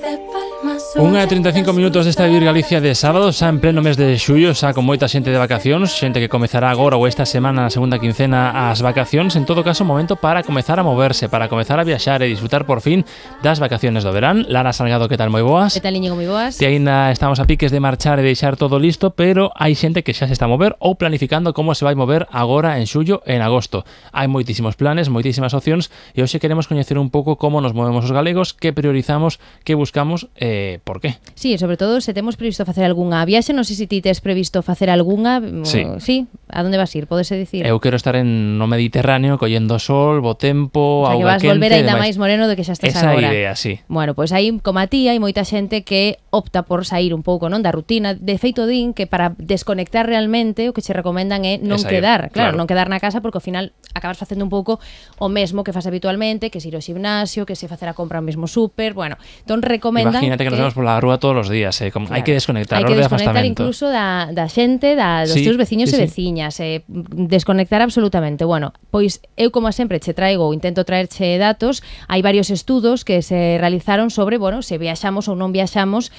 1:35 minutos desta Vivir Galicia de sábado, xa en pleno mes de xullo, xa con moita xente de vacacións, xente que comezará agora ou esta semana, na segunda quincena, as vacacións. En todo caso, momento para comezar a moverse, para comezar a viaxar e disfrutar por fin das vacaciones do verán. Lara Salgado, que tal? Moi boas. Que tal, Íñigo? Moi boas. E aínda estamos a piques de marchar e deixar todo listo, pero hai xente que xa se está a mover ou planificando como se vai mover agora en xullo e en agosto. Hai moitísimos planes, moitísimas opcións e hoxe queremos coñecer un pouco como nos movemos os galegos, que priorizamos, que buscamos e por qué. Sí, sobre todo se temos previsto facer algunha viaxe, non sei se ti tes previsto facer algunha. Sí. A onde vas ir? Podese dicir? Eu quero estar no Mediterráneo, collendo sol, bo tempo, auga quente. Que vas volver aínda máis moreno do que xa estás agora. Esa idea, sí. Bueno, pois aí, como a ti, hai moita xente que opta por sair un pouco, non, da rutina. De feito, din que para desconectar realmente o que che recomendan é non quedar, claro, non quedar na casa, porque ao final acabas facendo un pouco o mesmo que fas habitualmente, que se ir ao gimnasio, que se facer a compra ao mesmo súper, bueno, entón recomendan. Imagínate que nos vemos pola rúa todos os días, claro. Hai que desconectar, hai que desconectar incluso da xente, dos teus veciños e veciñas, desconectar absolutamente. Bueno, pois eu como sempre che traigo ou intento traerche datos. Hai varios estudos que se realizaron sobre, bueno, se viaxamos ou non viaxamos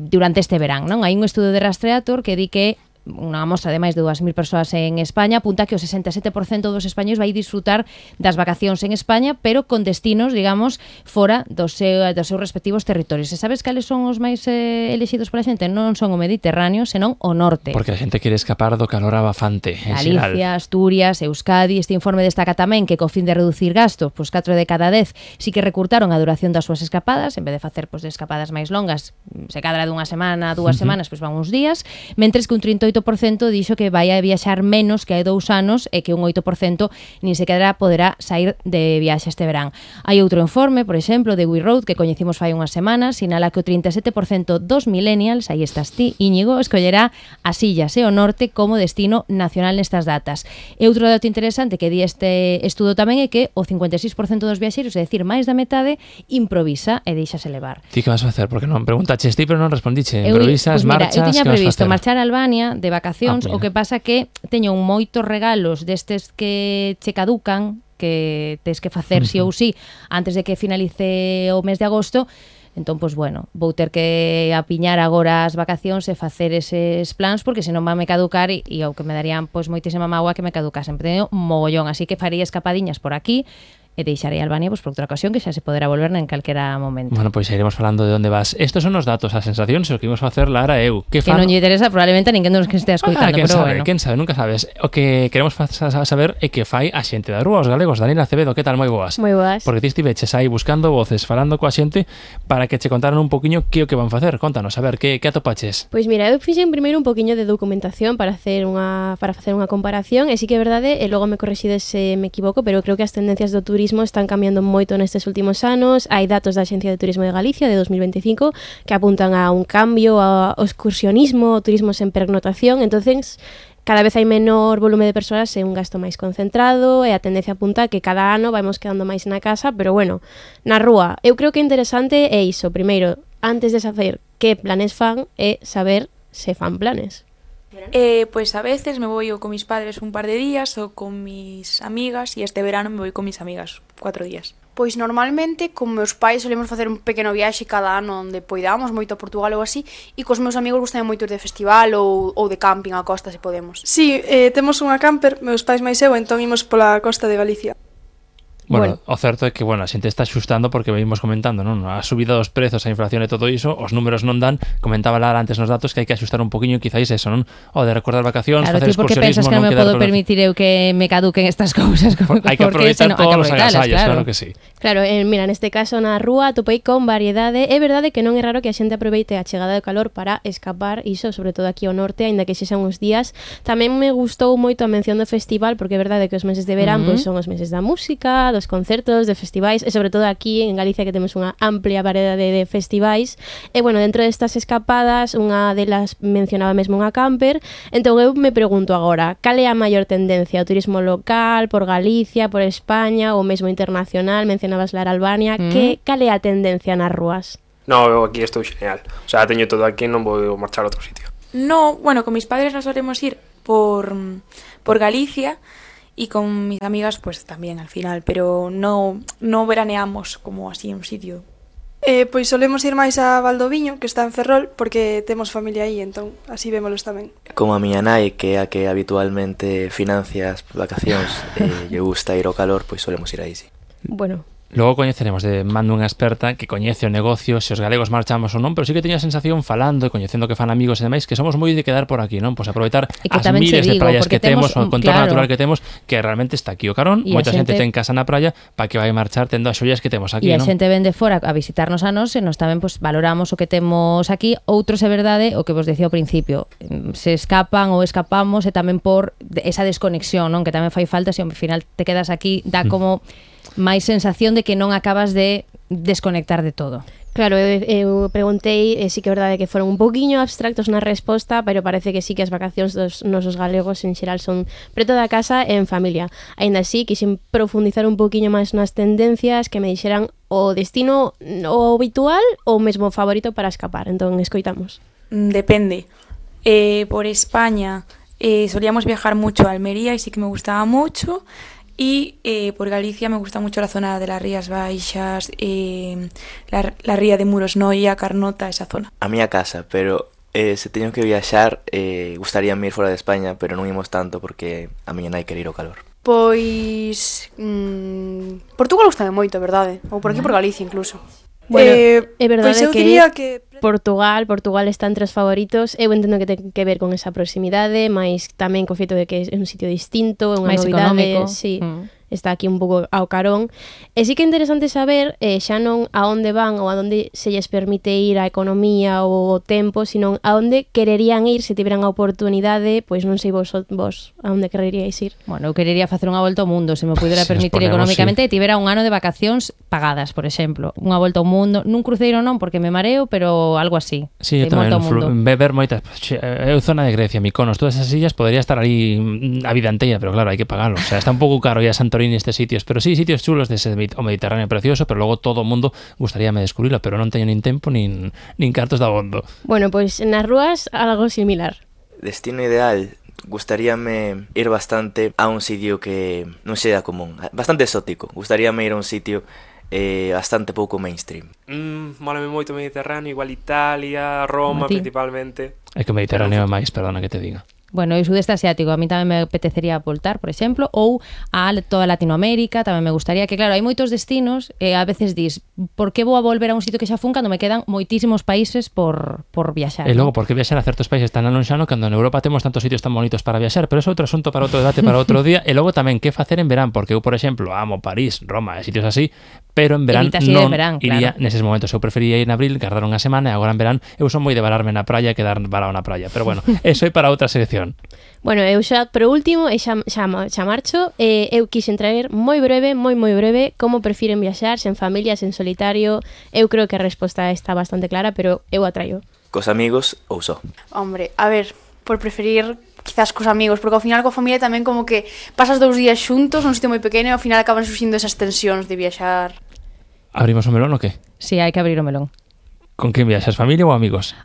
durante este verán, non? Hai un estudo de Rastreator que di que unha mostra de máis de 2.000 persoas en España apunta que o 67% dos españois vai disfrutar das vacacións en España, pero con destinos, digamos, fora dos seus respectivos territorios. E sabes cales son os máis elexidos pola xente? Non son o Mediterráneo, senón o norte. Porque a xente quere escapar do calor abafante. Galicia, Asturias, Euskadi. Este informe destaca tamén que co fin de reducir gastos, pois 4 de cada 10 sí que recurtaron a duración das súas escapadas, en vez de facer de escapadas máis longas, se cadra dunha semana, 2 semanas, pois van uns días, mentres que un 38% dixo que vai a viaxar menos que hai 2 anos e que un 8% nin sequera poderá sair de viaxe este verán. Hai outro informe, por exemplo, de We Road, que coñecimos fai unhas semanas, sinala que o 37% dos millennials, aí estás ti, Íñigo, escollerá as illas e o norte como destino nacional nestas datas. E outro dato interesante que di este estudo tamén é que o 56% dos viaxeiros, é dicir, máis da metade, improvisa e deixase levar. Ti que vas a facer? Porque non preguntaches ti, pero non respondiche. Improvisas, marchas, eu tiña previsto marchar a Albania de vacacións, o que pasa que teño moitos regalos destes que che caducan, que tes que facer sí ou sí antes de que finalice o mes de agosto. Entón, pois, bueno, vou ter que apiñar agora as vacacións e facer eses plans, porque senón van me caducar e o que me darían, pois, moitísima mágoa que me caducasen. Teño mogollón, así que faría escapadiñas por aquí e deixarei Albania por outra ocasión que xa se poderá volver en calquera momento. Bueno, pois iremos falando de onde vas. Estos son os datos, as sensacións, o que imos facer Lara e eu. Que non lle interesa probablemente a ninguén dos que estea escoitando, pero bueno. Quen sabe, nunca sabes. O que queremos saber é que fai a xente da rúa, os galegos. Daniela Acevedo, que tal? Moi boas. Moi boas. Porque ti estiveches aí buscando voces, falando coa xente para que che contaran un poquinho que o que van facer. Contanos, a ver, que atopaches? Pois mira, eu fixen primeiro un poquinho de documentación para facer unha comparación, e sí que é verdade, e logo me correxides se me equivoco, pero creo que as tendencias do turismo están cambiando moito nestes últimos anos. Hai datos da Axencia de Turismo de Galicia de 2025 que apuntan a un cambio ao excursionismo, ao turismo sen pernotación. Entonces, cada vez hai menor volume de persoas e un gasto máis concentrado, e a tendencia apunta que cada ano vamos quedando máis na casa, pero bueno, na rúa. Eu creo que interesante é iso. Primeiro, antes de saber que planes fan, é saber se fan planes. Pues a veces me voy o con mis padres un par de días o con mis amigas, e este verano me voy con mis amigas 4 días. Pois normalmente con meus pais solemos facer un pequeno viaxe cada ano onde poidamos, moito a Portugal ou así, e cos meus amigos gustan moito ir de festival ou de camping á costa se podemos. Sí, temos unha camper, meus pais máis eu, entón imos pola costa de Galicia. Bueno, o certo é que, a xente está axustando porque venimos comentando, non? A subida dos prezos, a inflación e todo iso, os números non dan. Comentaba Lara antes nos datos que hai que axustar un poquinho, quizáis eso, non? O de recordar vacacións, facer excursionismo, claro, ti porque pensas que non me podo permitir eu que me caduquen estas cousas? Hai que aproveitar todos os agasallos, claro que sí. Claro, mira, neste caso na rúa topei con variedade. É verdade que non é raro que a xente aproveite a chegada do calor para escapar, iso, sobre todo aquí ao norte, aínda que xexan uns días. Tamén me gustou moito a mención do festival, porque é verdade que os meses de verán pois son os meses da música, dos concertos, de festivais, e sobre todo aquí en Galicia, que temos unha amplia variedade de festivais. E bueno, dentro destas escapadas, unha delas mencionaba mesmo unha camper. Entón eu me pregunto agora, cal é a maior tendencia? O turismo local, por Galicia, por España, ou mesmo internacional? Mencionabas Lara Albania. Cal é a tendencia nas rúas? No, eu aquí estou genial. O sea, teño todo aquí, non vou marchar a outro sitio. No, bueno, con mis padres nos solemos ir por Galicia, y con mis amigas pues también al final, pero no veraneamos como así en un sitio Pois solemos ir máis a Valdoviño, que está en Ferrol, porque temos familia aí, entón así vémolos tamén. Como a miña nai, que é a que habitualmente financia as vacacións e lle gusta ir ao calor, pois solemos ir aí, sí. Bueno, Logo coñeceremos de mando unha experta que coñece o negocio, se os galegos marchamos ou non, pero sí que teño a sensación falando e coñecendo que fan amigos e demais que somos moi de quedar por aquí, non? Pois aproveitar as miles de praias que temos, o contorno natural que temos, que realmente está aquí o carón, moita xente ten casa na praia para que vai marchar tendo as xollas que temos aquí, non? E a xente ven de fora a visitarnos a nós e nos tamén pues, valoramos o que temos aquí. Outros é verdade o que vos decía ao principio, se escapan ou escapamos e tamén por esa desconexión, non? Que tamén fai falta, se ao final te quedas aquí, dá como máis sensación de que non acabas de desconectar de todo. Claro, eu preguntei, sí que é verdade que foron un poquinho abstractos na resposta, pero parece que sí que as vacacións dos nosos galegos en xeral son preto da casa e en familia. Aínda así, quixen profundizar un poquinho máis nas tendencias, que me dixeran o destino o habitual ou mesmo favorito para escapar. Entón, escoitamos. Depende. Por España solíamos viajar mucho a Almería y sí que me gustaba mucho. Y por Galicia me gusta mucho la zona de las Rías Baixas, la ría de Muros Noia, Carnota, esa zona. A miña casa, pero se teño que viaxar, gustaríame ir fora de España, pero non imos tanto porque a miña nai quere ir ao calor. Pois... Portugal gustame moito, verdade? Ou por aquí por Galicia incluso. Bueno, é verdade pois eu que diría que Portugal está entre os favoritos. Eu entendo que ten que ver con esa proximidade, mais tamén co feito de que é un sitio distinto, é unha máis novidade, económico. sí. Está aquí un pouco ao carón. E sí que é interesante saber xa non a onde van ou a onde se lles permite ir a economía ou o tempo, sino a onde quererían ir se tiveran a oportunidade, pois non sei vos a onde quereríais ir. Bueno, eu querería facer unha volta ao mundo, se me pudera permitir económicamente, e tivera un ano de vacacións pagadas, por exemplo. Unha volta ao mundo, nun cruceiro non, porque me mareo, pero algo así. Sí, eu tamén, ver moitas... Eu zona de Grecia, Mykonos, todas esas illas, podría estar ali a vida enteira, pero claro, hai que pagarlo. O sea, está un pouco caro ya Santorini estes sitios, pero sí, sitios chulos dese o Mediterráneo precioso, pero logo todo o mundo gustaríame descubrirlo, pero non teño nin tempo nin cartos de abondo. Bueno, pois nas rúas algo similar. Destino ideal, gustaríame ir bastante a un sitio que non sea común, bastante exótico. Gustaríame ir a un sitio bastante pouco mainstream. Mólame moito o Mediterráneo, igual Italia, Roma principalmente. É que o Mediterráneo é máis, perdona que te diga. Bueno, e o sudeste asiático, a mí tamén me apetecería voltar, por exemplo, ou a toda Latinoamérica, tamén me gustaría, que claro, hai moitos destinos, e a veces dis, por que vou a volver a un sitio que xa fun cando me quedan moitísimos países por viaxar? E logo, por que viaxar a certos países tan alonxano cando en Europa temos tantos sitios tan bonitos para viaxar? Pero é outro asunto para outro debate, para outro día. E logo tamén, que facer en verán? Porque eu, por exemplo, amo París, Roma e sitios así, pero en verán non iría neses momentos. Eu prefería ir en abril, guardar unha semana, e agora en verán eu son moi de vararme na praia que dar varado na praia. Pero bueno, eso é para outra sección. Bueno, eu xa, por último, xa marcho, eu quixen traer moi breve, como prefiren viaxar, sen familias, en solitario. Eu creo que a resposta está bastante clara, pero eu a traio. Cos amigos ou só? Hombre, a ver, por preferir quizás cos amigos, porque ao final coa familia tamén como que pasas 2 días xuntos nun sitio moi pequeno e ao final acaban surxindo esas tensións de viaxar. Abrimos o melón ou que? Sí, hai que abrir o melón. Con quen viaxas, familia ou amigos?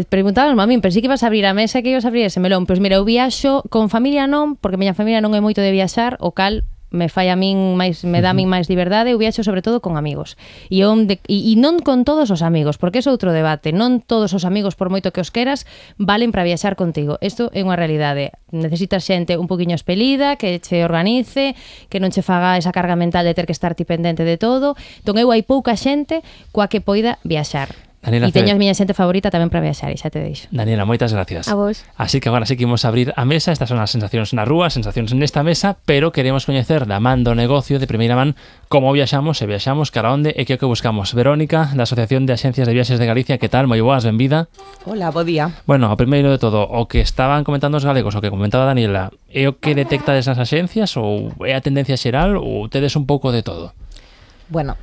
Preguntábamos a min, pero sí que ibas a abrir a mesa que ibas a abrir ese melón. Pois mira, eu viaxo con familia non, porque a miña familia non é moito de viaxar, o cal me fai a min máis, me dá a min máis liberdade. Eu viaxo sobre todo con amigos. E non con todos os amigos, porque é outro debate. Non todos os amigos, por moito que os queras, valen para viaxar contigo. Isto é unha realidade. Necesitas xente un poquinho espelida, que che organice, que non che faga esa carga mental de ter que estar ti pendente de todo. Entón eu hai pouca xente coa que poida viaxar. Daniela, e teño a miña xente favorita tamén para viaxar, e xa te deixo. Daniela, moitas gracias. A vos. Así que agora sí que imos abrir a mesa. Estas son as sensacións na rúa, sensacións nesta mesa, pero queremos coñecer da man do negocio de primeira man como viaxamos e viaxamos cara onde e que é o que buscamos. Verónica, da Asociación de Axencias de Viaxes de Galicia, que tal? Moi boas, benvida. Hola, bo día. Bueno, o primeiro de todo, o que estaban comentando os galegos, o que comentaba Daniela, é o que detectades nas axencias ou é a tendencia xeral ou tedes un pouco de todo? Bueno,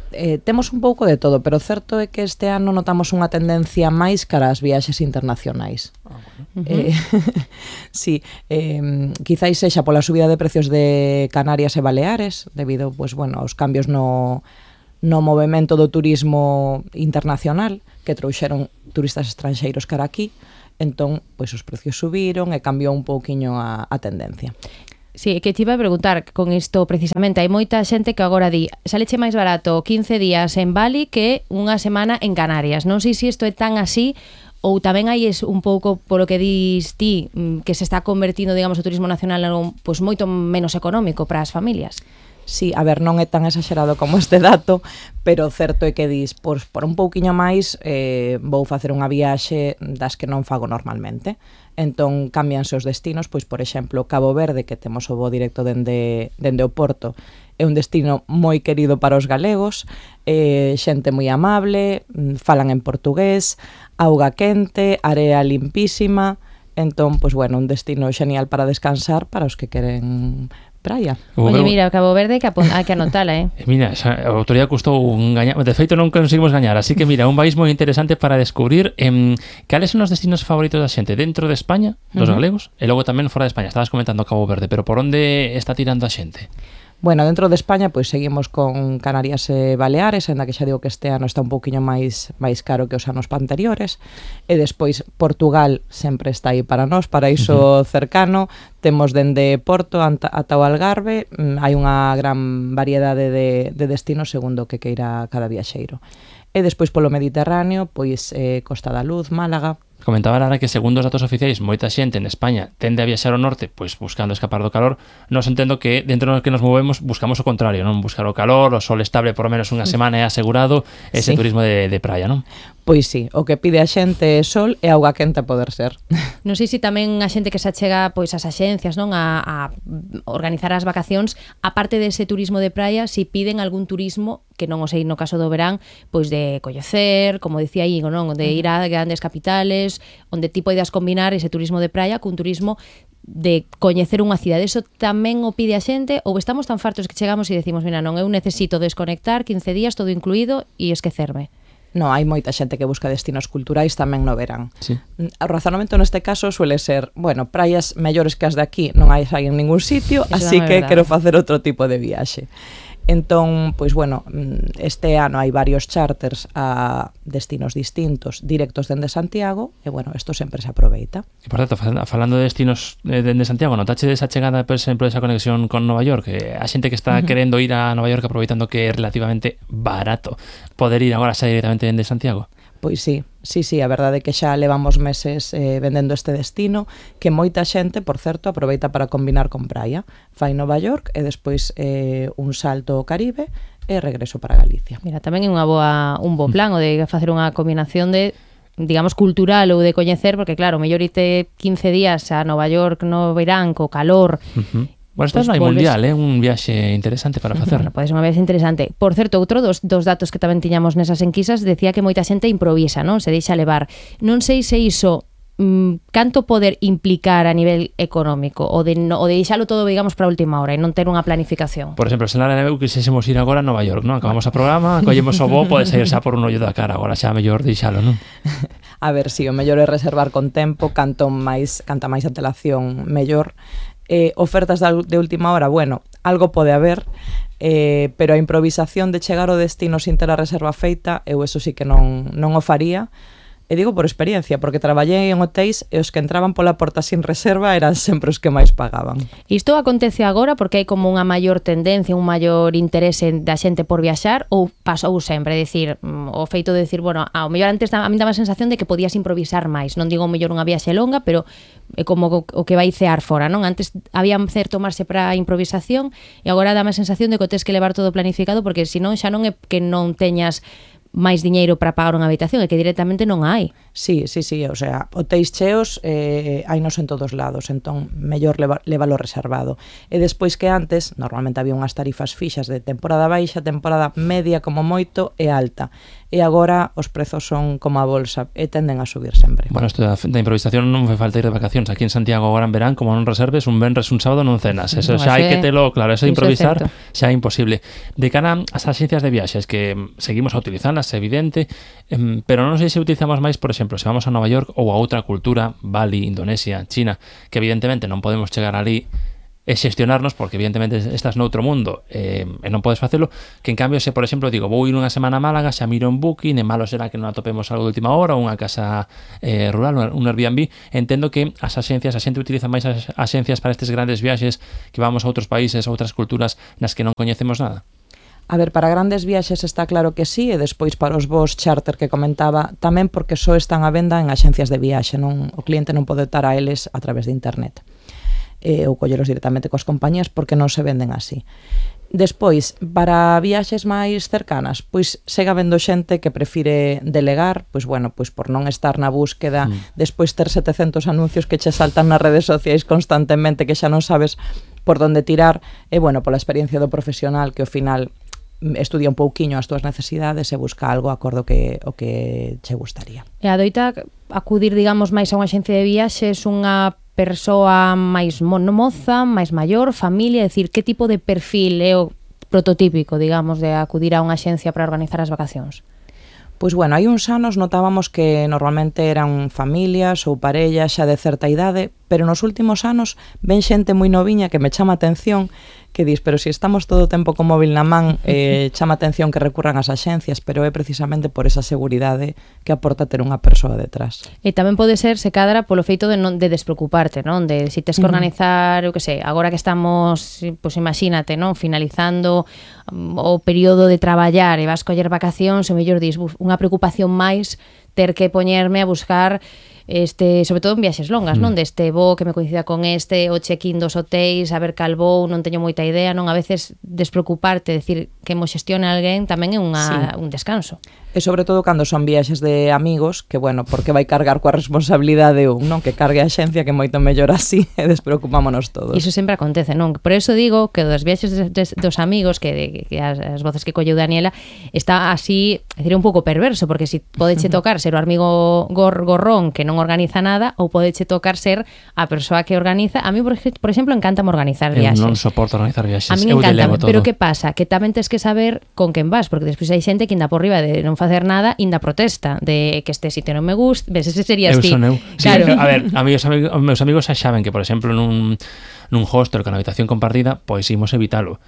temos un pouco de todo, pero o certo é que este ano notamos unha tendencia máis cara ás viaxes internacionais. Sí, quizáis sexa pola subida de precios de Canarias e Baleares, debido pues, bueno, aos cambios no movemento do turismo internacional, que trouxeron turistas estranxeiros cara aquí, entón, pois os precios subiron e cambiou un pouquiño a tendencia. Sí, que te iba a preguntar con isto precisamente, hai moita xente que agora di saleche máis barato 15 días en Bali que unha semana en Canarias. Non sei se isto é tan así ou tamén hai un pouco polo que dis ti que se está convertindo, digamos, o turismo nacional en algo pois moito menos económico para as familias. Sí, a ver, non é tan exagerado como este dato, pero o certo é que dis, por un pouquiño máis vou facer unha viaxe das que non fago normalmente. Entón, cámbianse os destinos, pois, por exemplo, Cabo Verde, que temos o voo directo dende o Porto, é un destino moi querido para os galegos, xente moi amable, falan en portugués, auga quente, area limpísima, entón, pois, bueno, un destino xenial para descansar para os que queren praia. Oye, mira, Cabo Verde hai que anotala, Mira, a autoridade custou gañar, de feito non conseguimos gañar, así que mira, un país moi interesante para descubrir. Cales son os destinos favoritos da xente dentro de España, dos galegos, e logo tamén fora de España? Estabas comentando Cabo Verde, pero por onde está tirando a xente? Bueno, dentro de España, pois seguimos con Canarias e Baleares, ainda que xa digo que este ano está un pouquiño máis caro que os anos anteriores, e despois Portugal sempre está aí para nós, paraíso cercano, temos dende Porto ata o Algarve, hai unha gran variedade de destinos segundo o que queira cada viaxeiro. E despois polo Mediterráneo, pois Costa da Luz, Málaga. Comentaba ahora que segundo os datos oficiais moita xente en España tende a viaxar ao norte pois buscando escapar do calor. Nos entendo que dentro do que nos movemos buscamos o contrario, non? Buscar o calor, o sol estable por menos unha semana é asegurado, ese turismo de praia, non? Pois sí, o que pide a xente é sol e auga quente a poder ser. Non sei se tamén a xente que se achega pois ás axencias, non, a organizar as vacacións, aparte dese turismo de praia, si piden algún turismo que non o sei no caso do verán, pois de coñecer, como dicía Íñigo, non, de ir a grandes capitales, onde ti poidas combinar ese turismo de praia cun turismo de coñecer unha cidade. Eso tamén o pide a xente ou estamos tan fartos que chegamos e decimos, mira, non, eu necesito desconectar 15 días todo incluído e esquecerme? No, hai moita xente que busca destinos culturais tamén no verán. Sí. O razonamento neste caso suele ser, bueno, praias mellores que as de aquí non hai en ningún sitio, eso así que verdade. quero facer outro tipo de viaxe. Entón, pois bueno, este ano hai varios charters a destinos distintos directos dende Santiago e bueno, isto sempre se aproveita. E por certo, falando de destinos dende Santiago, notache desa chegada, por exemplo, desa conexión con Nova York, a xente que está querendo ir a Nova York aproveitando que é relativamente barato poder ir agora xa directamente dende Santiago? Pois sí, a verdade é que xa levamos meses vendendo este destino que moita xente, por certo, aproveita para combinar con praia. Fai Nova York e despois un salto ao Caribe e regreso para Galicia. Mira, tamén é un bo plan o de facer unha combinación de digamos cultural ou de coñecer, porque claro, mellor irte 15 días a Nova York no verán co calor. Bueno, isto non hai mundial, un viaxe interesante para facer. Bueno, pode ser unha viaxe interesante. Por certo, outro dos datos que tamén tiñamos nesas enquisas decía que moita xente improvisa, non? Se deixa levar. Non sei se iso canto poder implicar a nivel económico o de deixalo todo, digamos, para a última hora e non ter unha planificación. Por exemplo, se Lara e eu quisésemos ir agora a Nova York, non? Acabamos o programa, collemos o voo, pode sair xa por un ollo da cara, agora xa mellor deixalo, non? A ver, si, o mellor é reservar con tempo, canta máis antelación, mellor. Ofertas de última hora, bueno, algo pode haber, pero a improvisación de chegar ao destino sin ter a reserva feita, eu eso sí que non o faría. E digo por experiencia, porque traballei en hotéis e os que entraban pola porta sin reserva eran sempre os que máis pagaban. Isto acontece agora porque hai como unha maior tendencia, un maior interese da xente por viaxar ou pasou sempre? É dicir, o feito de decir, bueno, ao mellor antes a mí daba a sensación de que podías improvisar máis. Non digo mellor unha viaxe longa, pero é como o que vai cear fora, non? Antes había certo marxe para a improvisación e agora dá a sensación de que o tes que levar todo planificado porque senón xa non é que non teñas máis diñeiro para pagar unha habitación, é que directamente non hai. Sí, o sea, hotéis cheos hainos en todos lados, entón mellor levalo reservado. E despois que antes, normalmente había unhas tarifas fixas de temporada baixa, temporada media como moito e alta. E agora os prezos son como a bolsa e tenden a subir sempre. Bueno, isto da improvisación non me falta ir de vacacións. Aquí en Santiago agora en verán, como non reserves, un venres, un sábado non cenas. Eso xa hai que telo claro, eso de improvisar xa é imposible. De cara ás agencias de viaxes que seguimos a utilizarlas, é evidente, pero non sei se utilizamos máis, por exemplo, se vamos a Nova York ou a outra cultura, Bali, Indonesia, China, que evidentemente non podemos chegar ali e xestionarnos, porque evidentemente estás noutro mundo e non podes facelo, que en cambio se, por exemplo, digo, vou ir unha semana a Málaga, xa miro en Booking, e malo será que non atopemos algo de última hora, unha casa rural, un Airbnb. Entendo que as axencias, a xente utiliza máis as axencias para estes grandes viaxes que vamos a outros países, a outras culturas nas que non coñecemos nada. A ver, para grandes viaxes está claro que sí, e despois para os voos charter que comentaba, tamén porque só están a venda en axencias de viaxe, non, o cliente non pode estar a eles a través de internet. Ou colleros directamente coas compañías porque non se venden así. Despois, para viaxes máis cercanas, pois segue habendo xente que prefire delegar, pois bueno, pois por non estar na búsqueda, despois ter 700 anuncios que che saltan nas redes sociais constantemente, que xa non sabes por onde tirar, e bueno, pola experiencia do profesional que ao final estudia un pouquiño as túas necesidades e busca algo acordo o que che gustaría. E adoita acudir, digamos, máis a unha axencia de viaxes unha persoa máis moza, máis maior, familia, é dicir, que tipo de perfil é o prototípico, digamos, de acudir a unha axencia para organizar as vacacións? Pois bueno, hai uns anos notábamos que normalmente eran familias ou parellas xa de certa idade, pero nos últimos anos ven xente moi noviña que me chama a atención, que dis, pero se estamos todo o tempo co móvil na man, chama a atención que recurran ás axencias, pero é precisamente por esa seguridade que aporta ter unha persoa detrás. E tamén pode ser, se cadra, polo feito de despreocuparte, non? De si tes que organizar, eu que sei, agora que estamos, pois imagínate, non? Finalizando o período de traballar e vas coller vacacións, o mellor dis, unha preocupación máis ter que poñerme a buscar sobre todo en viaxes longas, non? Deste voo que me coincida con o check-in dos hotéis, a ver cal voo, non teño moita idea, non? A veces despreocuparte, decir que mo xestione alguén tamén é un descanso. E sobre todo cando son viaxes de amigos, que bueno, porque vai cargar coa responsabilidade non? Que cargue a xencia, que moito mellor así, e despreocupámonos todos. Iso sempre acontece, non? Por eso digo que dos viaxes dos amigos, que as voces que colleu Daniela, está así, é dicir, un pouco perverso, porque si podeche tocar ser o amigo gorrón que non organiza nada, ou podeche tocar ser a persoa que organiza. A mí, por exemplo, encántame organizar viaxes. Eu non soporto organizar viaxes. A mí encanta, pero que pasa? Que tamén tens que saber con quen vas, porque despois hai xente que inda por riba de non facer nada, inda protesta de que este sitio non me gusta. Ves, ese serías ti. Son eu. Claro. Sí, a ver, meus amigos xa saben que, por exemplo, nun hostel con habitación compartida, pois imos evitalo.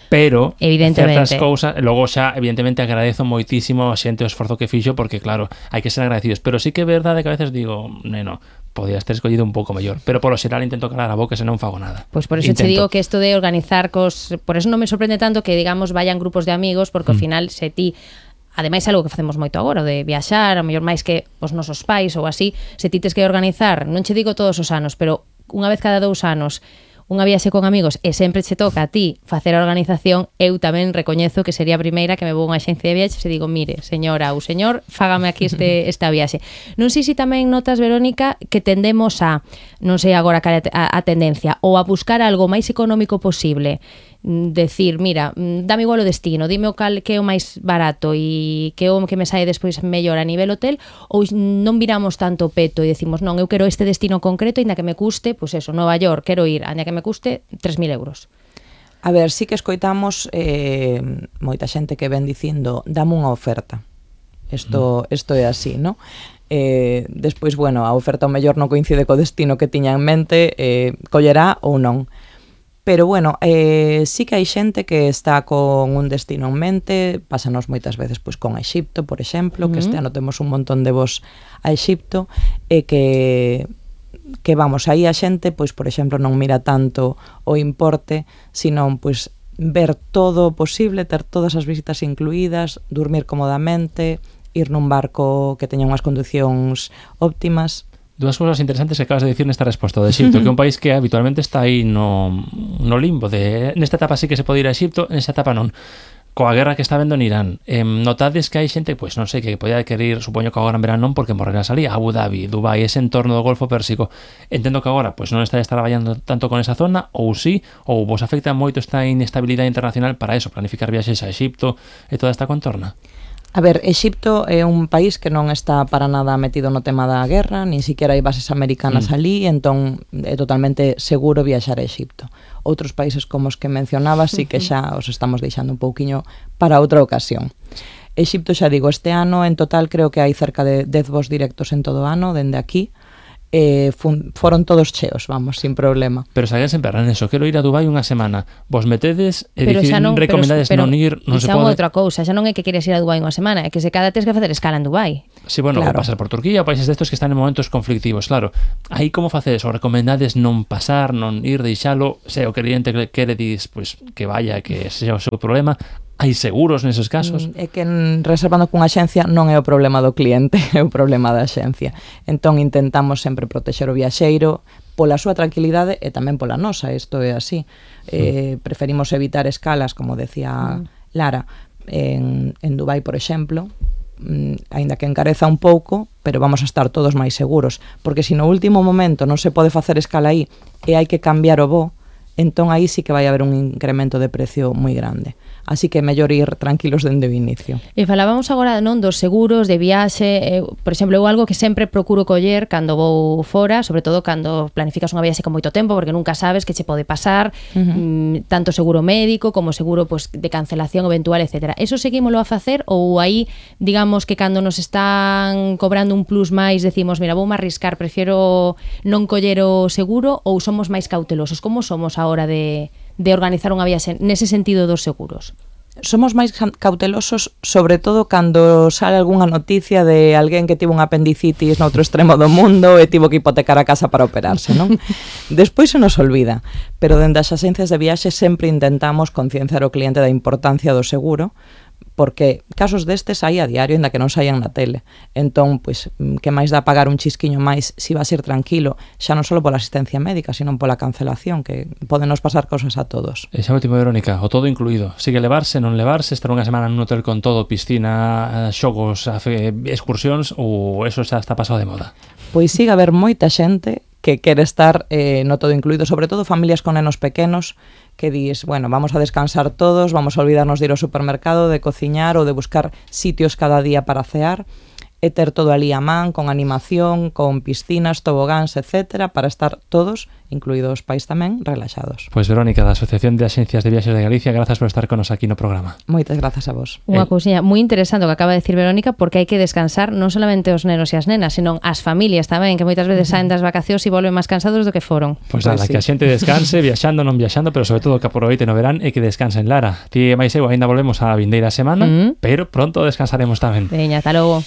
Pero certas cousas, logo xa evidentemente agradezo moitísimo a xente o esforzo que fixo, porque claro, hai que ser agradecidos, pero sí que é verdade que a veces digo, neno, podías ter escollido un pouco mellor, pero polo xeral intento calar a boca se non fago nada. Pois por eso te digo que isto de organizar por eso non me sorprende tanto que, digamos, vayan grupos de amigos, porque ao final se ti ademais é algo que facemos moito agora, de viaxar, a mellor máis que os nosos pais ou así, se ti tes que organizar, non che digo todos os anos, pero unha vez cada 2 anos, unha viaxe con amigos e sempre che toca a ti facer a organización, eu tamén recoñezo que sería a primeira que me vou a unha axencia de viaxes e digo, mire, señora ou señor, fágame aquí esta viaxe. Non sei se tamén notas, Verónica, que tendemos a, non sei agora a tendencia, ou a buscar algo máis económico posible, decir, mira, dame igual o destino, dime o cal que é o máis barato e que é o que me sae despois mellor a nivel hotel, ou non viramos tanto o peto e decimos, non, eu quero este destino concreto, ainda que me custe, pois eso, Nova York, quero ir, ainda que me custe 3.000 euros. A ver, sí que escoitamos moita xente que ven dicindo, dame unha oferta. Isto é así, non? Despois, bueno, a oferta ao mellor non coincide co destino que tiña en mente, collerá ou non. Pero bueno, sí que hai xente que está con un destino en mente, pásanos moitas veces pois con Exipto, por exemplo, que este ano temos un montón de vos a Exipto, e que vamos, aí a xente, pois por exemplo, non mira tanto o importe, senón pois ver todo o posible, ter todas as visitas incluídas, dormir cómodamente, ir nun barco que teña unhas condicións óptimas. Dúas cousas interesantes que acabas de dicir nesta resposta de Exipto, que é un país que habitualmente está aí no limbo de nesta etapa sí que se pode ir a Exipto, nesta etapa non. Coa guerra que está vendo en Irán, notades que hai xente, pois non sei, que podía querer ir, supoño que agora en verán non, porque morrerá salí a Abu Dhabi, Dubai, ese entorno do Golfo Pérsico. Entendo que agora pois non está traballando tanto con esa zona, ou sí, ou vos afecta moito esta inestabilidade internacional para eso, planificar viaxes a Exipto e toda esta contorna. A ver, Exipto é un país que non está para nada metido no tema da guerra, nin siquiera hai bases americanas ali, entón é totalmente seguro viaxar a Exipto. Outros países como os que mencionabas sí que xa os estamos deixando un pouquiño para outra ocasión. Exipto, xa digo, este ano en total creo que hai cerca de 10 voos directos en todo o ano, dende aquí, foron todos cheos, vamos, sin problema. Pero se alguén se emperra neso, quero ir a Dubai unha semana, vos metedes e recomendades non ir, non se pode. Outra cousa, xa non é que queres ir a Dubai unha semana, é que se cada tes que facer escala en Dubai. Sí, bueno, claro. Pasar por Turquía, países destos que están en momentos conflictivos, claro. Aí como facedes? O recomendades non pasar, non ir, deixalo, se o cliente quere dis, pues, que vaya, que sexa o seu problema. Hai seguros neses casos? É que reservando cunha axencia non é o problema do cliente, é o problema da axencia. Entón intentamos sempre protexer o viaxeiro pola súa tranquilidade e tamén pola nosa, isto é así. Preferimos evitar escalas, como decía Lara, en Dubai, por exemplo, aínda que encareza un pouco, pero vamos a estar todos máis seguros, porque se no último momento non se pode facer escala aí e hai que cambiar o voo, entón aí sí que vai haber un incremento de precio moi grande. Así que é mellor ir tranquilos dende o inicio. E falábamos agora non dos seguros de viaxe, por exemplo, eu algo que sempre procuro coller cando vou fora, sobre todo cando planificas unha viaxe con moito tempo, porque nunca sabes que che pode pasar, tanto seguro médico como seguro pues, de cancelación eventual, etc. Eso seguímolo a facer ou aí, digamos que cando nos están cobrando un plus máis, decimos, mira, vou me arriscar, prefiero non coller o seguro, ou somos máis cautelosos? Como somos a hora de organizar unha viaxe nese sentido dos seguros? Somos máis cautelosos, sobre todo cando sale algunha noticia de alguén que tivo un apendicitis no outro extremo do mundo e tivo que hipotecar a casa para operarse, non? Despois se nos olvida, pero dende as axencias de viaxe sempre intentamos concienciar o cliente da importancia do seguro, porque casos destes hai a diario, ainda que non saian na tele. Entón, pois, que máis dá pagar un chisquiño máis se vas ir tranquilo, xa non só pola asistencia médica, sino pola cancelación, que podenos pasar cosas a todos. E xa último, Verónica, o todo incluído. Sigue levarse, non levarse, estar unha semana nun hotel con todo, piscina, xogos, excursións, ou eso xa está pasado de moda? Pois sigue a haber moita xente que quere estar no todo incluído, sobre todo familias con nenos pequenos, que dis, bueno, vamos a descansar todos, vamos a olvidarnos de ir ao supermercado, de cociñar ou de buscar sitios cada día para cear, e ter todo ali a man, con animación, con piscinas, tobogáns, etcétera, para estar todos, incluídos os pais tamén, relaxados. Pois Verónica, da Asociación de Axencias de Viaxes de Galicia, grazas por estar con nos aquí no programa. Moitas grazas a vos. Unha cousiña moi interesante o que acaba de decir Verónica, porque hai que descansar non solamente os nenos e as nenas, senón as familias tamén, que moitas veces saen das vacacións e volven máis cansados do que foron. Pois nada, sí. Que a xente descanse, viaxando, non viaxando, pero sobre todo que aproveiten o verán e que descansen, Lara. Ti e máis eu, ainda volvemos a vindeira semana, pero pronto descansaremos tamén. Veña, ata logo.